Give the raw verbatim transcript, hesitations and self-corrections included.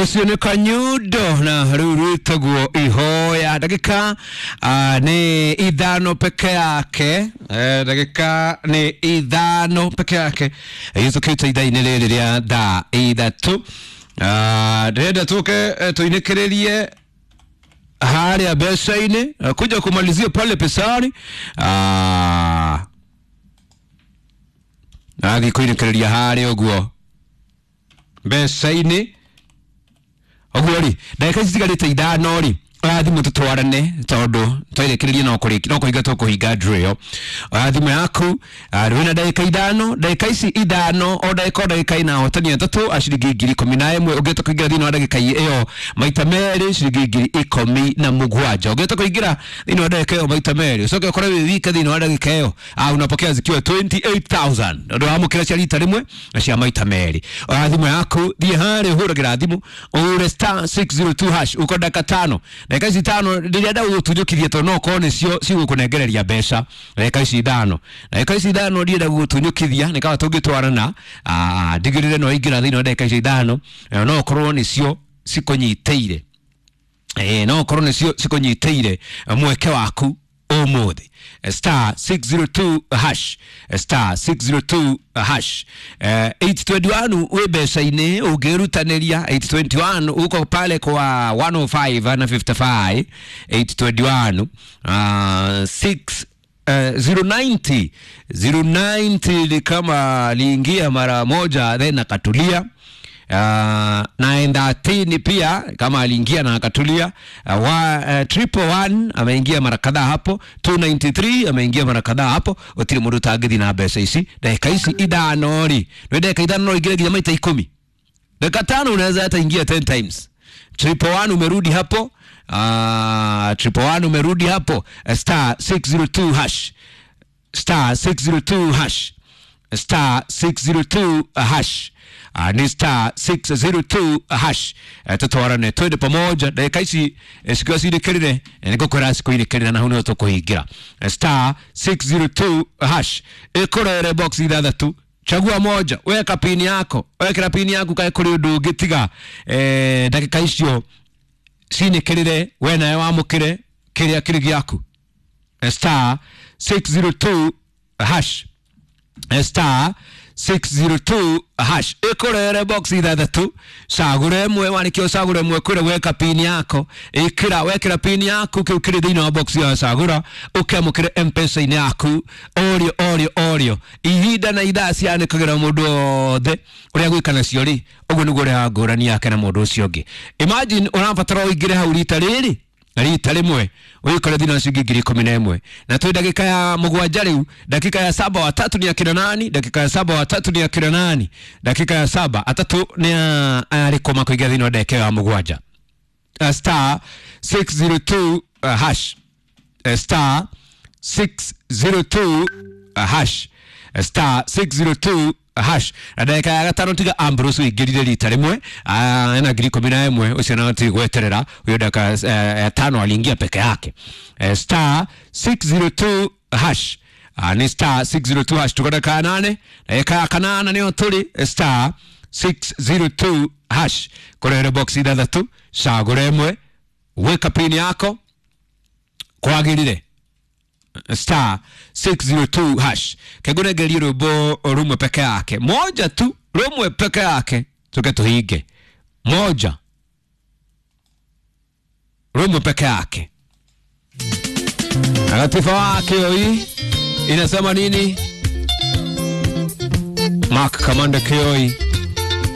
Ucio nĩ Kanyundo na rĩu rwĩtagwo Ihoya. Ndagĩka uh, nĩ ithano peke yake, eh, ndagĩka nĩ ithano peke yake ĩhĩtũkĩte ithaa-inĩ rĩrĩ rĩa thaa ithatũ. Uh, ndĩrenda tũke eh, tũinĩkĩrĩrie harĩa mbeca-inĩ, eh, kuja kumalizia pale pesani. Ah, athiĩ kũinĩkĩrĩria harĩa ũguo mbeca-inĩ ũguo rĩ, ndagĩka ici citigarĩte ithano rĩ, oya thimũ tũtwarane tondũ twairĩkĩrĩria no kũrĩki no kũhinga tũkũhinga draw ĩyo. Oya thimũ yaku, ah, wĩna ndagĩka ithano, ndagĩka ici ithano, o ndagĩka o ndagĩka ina ahotani atatũ a ciringi ngiri ikũmi na ĩmwe. Ũngĩhota kũingĩra thĩinĩ wa ndagĩka ĩyo maita merĩ, ciringi ngiri ikũmi na mũgwanja. Ũngĩhota kũingĩra thĩinĩ wa ndagĩka ĩyo maita merĩ, ũcoke ũkorwo wĩ wika thĩinĩ wa ndagĩka ĩyo, ah, unapokea zikiwa twenty eight thousand. Ũndũ wamũkĩra cia rita rĩmwe na cia maita merĩ. Oya thimũ yaku, thiĩ harĩa ũhũragĩra thimũ, ũhũre star six zero two hash, uko ndagĩka tano. Ndagĩka ici ithano ndĩrenda gũgũtunyũkithia tondũ no ũkorwo nĩcio cigũkũnengereria mbeca. Ndagĩka ici ithano, ndagĩka ici ithano ndienda gũgũtunyũkithia, nĩ kaba tũngĩtwarana, ah, ndigĩrĩre no waingĩra thĩinĩ wa ndagĩka ici ithano, eh, no ũkorwo nĩcio cikũnyitĩire, eh, no ũkorwo nĩcio cikũnyitĩire mweke waku ũmũthĩ. Star six zero two hash, star six zero two hash. Eh, eight twenty one wĩ mbeca-inĩ ũngĩrutanĩria. Eight twenty one uko pale kwa one oh five na fifty five. Eight twenty one, ah, six, eh, zero ninety, zero ninety ni kama aliingia mara moja then akatulia. Uh, nine thirteen pia kama aliingia na akatulia. Uh, wa, uh, triple one ameingia mara kadhaa hapo. Two ninety three ameingia mara kadhaa hapo. Gũtirĩ mũndũ ũtangĩthiĩ na mbeca ici ndagĩka ici ithano rĩ, nĩ ndagĩka ithano no ingĩre nginya maita ikũmi. Dakika tano unaweza hata ingia ten times. Triple one umerudi hapo. Uh, triple one umerudi hapo. Uh, star six zero two hash, star six zero two hash, star six zero two hash. Uh, ni star six zero two hash. Uh, tutwarane twende pamoja ndagĩka ici, eh, cikiwa cirĩkĩrĩre, eh, nĩngũkwĩra cikũirĩkĩrĩra na hau nĩho tũkũhingĩra. Eh, star six zero two hash ĩkũrere box ithathatũ, chagua moja, weka pini yako, wekera pini yaku kae kũrĩ ũndũ ũngĩ tiga, eh, ndagĩka icio cinĩkĩrĩre, we nawe wamũkĩre kĩrĩa kĩrĩ gĩaku. Eh, star six zero two hash, eh, star six zero two hash ĩkũrere box ithathatũ, cagũra ĩmwe, warĩkia ũcagũre ĩmwe kwĩra weka pini yako, ĩkĩra, wekĩra pini yaku kĩu kĩrĩ thĩinĩ wa box ya cagũra, ũkĩamũkĩre M-Pesa-inĩ yaku ũrĩo ũrĩo ũrĩo. Ihinda na ithaa cianĩkagĩra mũndũ wothe ũrĩa gwĩka nacio rĩ, ũguo nĩguo ũrehaga ngũrani yake na mũndũ ũcio ũngĩ. Imagine ũrabatara ũingĩre hau rita rĩrĩ rita rĩmwe ũikore thĩinĩ wa ciringi ngiri ikũmi na ĩmwe, na twĩ ndagĩka ya mũgwanja rĩu. Dakika ya saba, watatu ni akina nani? Dakika ya saba, watatu ni akina nani? Dakika ya saba, atatu ni arĩkũ makũingĩra thĩinĩ wa ndagĩka ya mũgwanja? Uh, star six zero two, uh, hash, uh, star six zero two, uh, hash, uh, star six zero two hash. Na ndagĩka ya gatano tiga Ambrose ũingĩrire rita rĩmwe, ah, ena ngiri ikũmi na ĩmwe, ũcio nao ti gweterera huyo. Dakika, eh, ya tano aliingia peke yake. Eh, star six zero two hash. Ah, ni star six zero two hash. Tuko dakika ya nane, dakika ya kanana nĩyo tũrĩ. Eh, star six zero two hash kũrehere box ithathatũ, cagũra ĩmwe, weka pini yako kwagĩrĩre. Star six zero two hash. Kegũnengerie rwĩmbo rumwe peke yake, moja tu, rumwe peke yake, tuke tuhinge. Moja rumwe peke yake. Latifa wake hii inasema nini? Mark Kamanda Kioi.